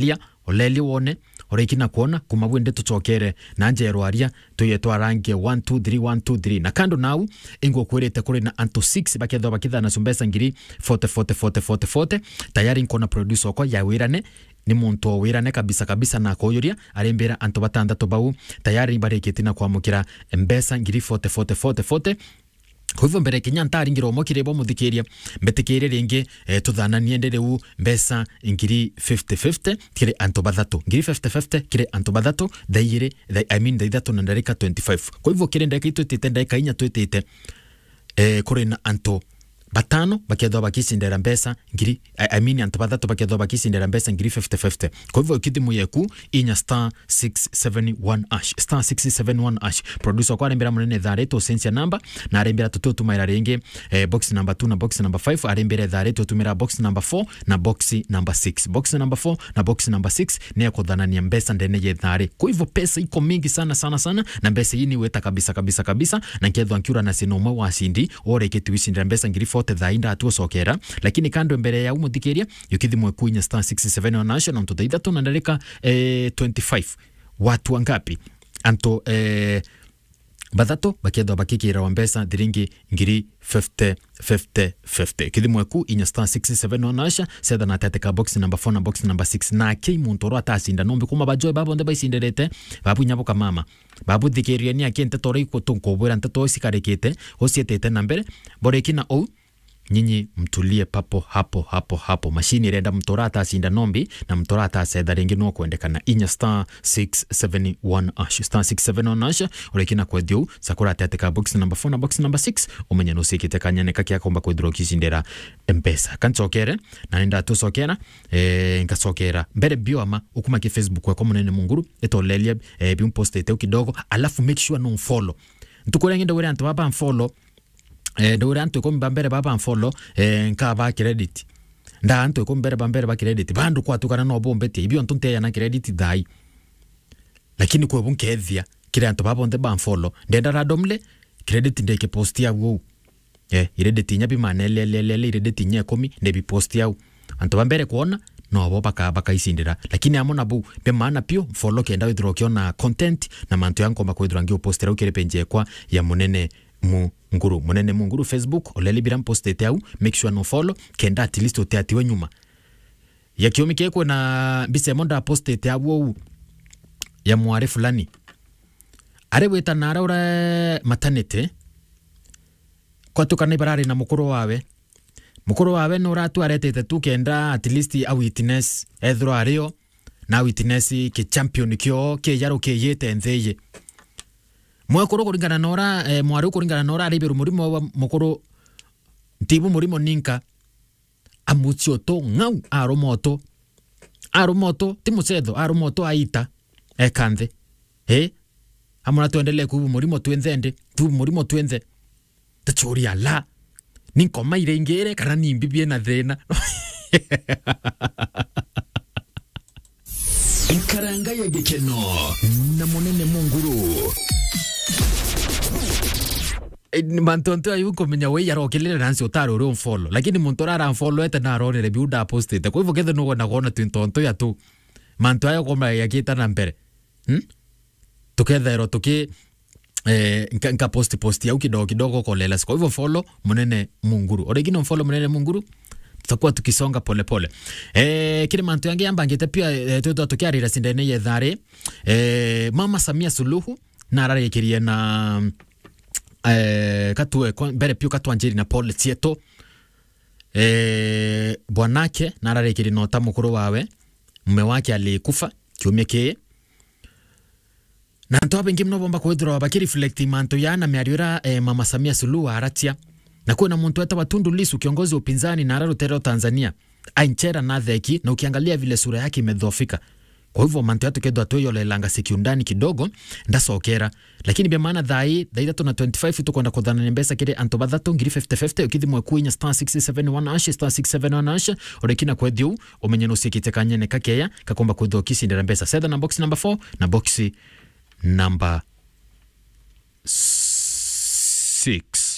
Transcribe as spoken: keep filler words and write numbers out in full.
lia, olelia wone, oreki na kwona, kuma bwende tucokere na nja ya rwaria, tuye twarange one, two, three, one, two, three. Na kando nau, ingukwirite kuri na antu six bakethwa bakithana su mbeca ngiri forty, forty, forty, forty, forty. Tayari nkona producer okwa ya wirane, ni muntu o wirane kabisa kabisa na akuyuria, arimbira antu batandatu bau, tayari barikiti na kwamukira mbeca ngiri forty, forty, forty, forty. Kwa hivyo mbere kinya ntaringira umwe kiri bo muthikiria, mbitikire ringi, eh, tuthananie ndi riu mbeca ngiri fifty fifty kiri antu bathatu. Ngiri fifty fifty kiri antu bathatu, thaa igiri, thaa, I mean, thaa ithatu na ndarika twenty-five. Kwa hivyo kiri ndarika itwitite, ndarika inya twitite, eh, kuri na antu batano bakethwa bakicindira mbeca ngiri, I, I mean, antu bathatu bakethwa bakicindira mbeca ngiri fifty fifty. Kwa hivyo, ukithimu yeku inya star six seven one hash, star six seven one hash. Producer kwa arembera munene thari tu sensia namba, na arembera tututumaira ringi, eh, box number two na box number five, arembera thari tutumira box number four na box number six. Box number four na box number six ni ya kuthanania mbeca ndene ye thari. Kwa hivyo, pesa iko mingi sana, sana, sana, na mbeca hii ni weta kabisa, kabisa, kabisa, na nkethwa nkiura na sina umwe wa cindi, ore kitu icindira mbeca ngiri forty thaa inda atu ucokera. Lakini kando mbere ya umuthikiria, yukithimwe kuinya star six seven one hash, na ntu thaa ithatu na ndarika, eh, twenty-five. Watu wangapi? Antu, eh, bathatu bakethwa bakikirwa mbeca thiringi ngiri fifty, fifty, fifty. Kithimwe ku inya star six seven one hash, setha na tete ka box number four na box number six. Na ki muntu oro atacinda, nombi kuma bajoe babo nthe baicinderete, babu inya boka mama. Babu thikiria ni aki nteto ori kutunkubwira nteto icikarikite, ucietete na mbere, boreki na ou, nyinyi mtulie papo hapo, hapo, hapo. Mashini irenda mtu ura atacinda nombi, na mtu ura atacetha ringi no kwendekana. Inya star six seven one hash, star six seven one hash, ureki na kwethia u, sakura atete ka box number four na box number six, umenye nucikite kanyene kake akomba kwithirwa ukicindira mpesa. Kancokere, na nenda tucokera, eh, nkacokera. Mbere bio ama, ukuma ki Facebook wako munene munguru, itolelia, eh, biu mpostete u kidogo, alafu make sure no follow. Ntukuria ngenda wire antu baba follow, eh, ndauria antu ikumi ba mbere baba follow, eh, nkaba credit. Nda antu ikumi mbere ba mbere ba credit. Bandu kwatukana no bombetie. Ibio ntu nteya na credit thai. Lakini kwebu nkethia, kiri antu baba bonthe ba follow. Ndenda randomly, credit ndeke post ya guo. Eh, credit inya bimane lelelele, credit inya ikumi, ndebi post yau. Antu ba mbere kwona, no bo baka-, bakaicindira. Lakini amo na bau, be maana pio, follow kenda withirwa ukiona content, na mantu ya nkomba kwithirwa ngi upostira ukiri page ekwa ya Munene Munguru. Munene Munguru Facebook, oleli bila mpostete au, make sure no follow, kenda at least utiatiwe nyuma. Ya kiumi kikwe na mbica imo ndapostete au ou, ya mwari fulani. Ari wita na ara ura maternity, kwatukana ibarari na mukuru wawe. Mukuru wawe ni uratu aretete tu kenda at least a witness, ethirwa ario, na witness ki champion kio kijaru kiyite nthi iji. Mwekuru kuringana na ura, eh, mwari kuringana na ura aribiru murimo wa mukuru, ntibu murimo ninka, amucio tu ng'au, aruma utu. Aruma utu, ti mucetho, aruma utu aita, eka nthi. Eh? Amwe na twendelee kubu murimo twinthe ndi, tubu murimo twinthe. Tuchuria la. Ni nkoma ire ingire kana ni mbibi ina thina. Ikaranga ya gikeno na Munene Munguru. Eh, ni mantu antu ayu kumenya we yarokilire na nsi utari uri unfollow. Lakini muntu urara unfollowete na aronere biu ndapostite. Kwa hivyo kethe nugona kuona twintu antu ya tu. Mantu ayo komba yakita na mbere. Hmm? Tukethairwa tuki, eh, nka, nka post post yau kidogo kidogo kolela. Kwa hivyo follow Munene Munguru. Origi no follow Munene Munguru. Tutakuwa tukisonga pole pole. Eh, kiri mantu yangi yambangite pia, eh, twithwa tukiarira cindene ye thari. Eh, Mama Samia Suluhu nararikirie na, eh, katue, kwa, mbere piu katwanjiri na pole cietu. Eh, bwanake nararikirie na uta mukuru wawe, mume wake alikufa kiumia kii. Na antu abaingi muno bomba kwithirwa bakireflect mantu ya na miario ira, eh, Mama Samia Suluhu aratia. Na kwina muntu etawa Tundu Lissu, kiongozi wa upinzani na ara rutere rwa Tanzania, ainchera na theki, na ukiangalia vile sura yake imedhoofika. Kwa hivyo mantu ya tukethwa twiyolelanga sikiundani kidogo, ndacokera. Lakini bia maana thai, thaa ithatu na twenty-five tukwenda kuthanania mbeca kiri antu bathatu, ngiri fifty fifty, ukithimwe kuinya star six seven one hash, star six seven one hash, ureki na kwethia u, umenye nuciikite kanyene kakeya, kakomba kwithwa ukicindira mbeca. Cetha na box number four na box number six.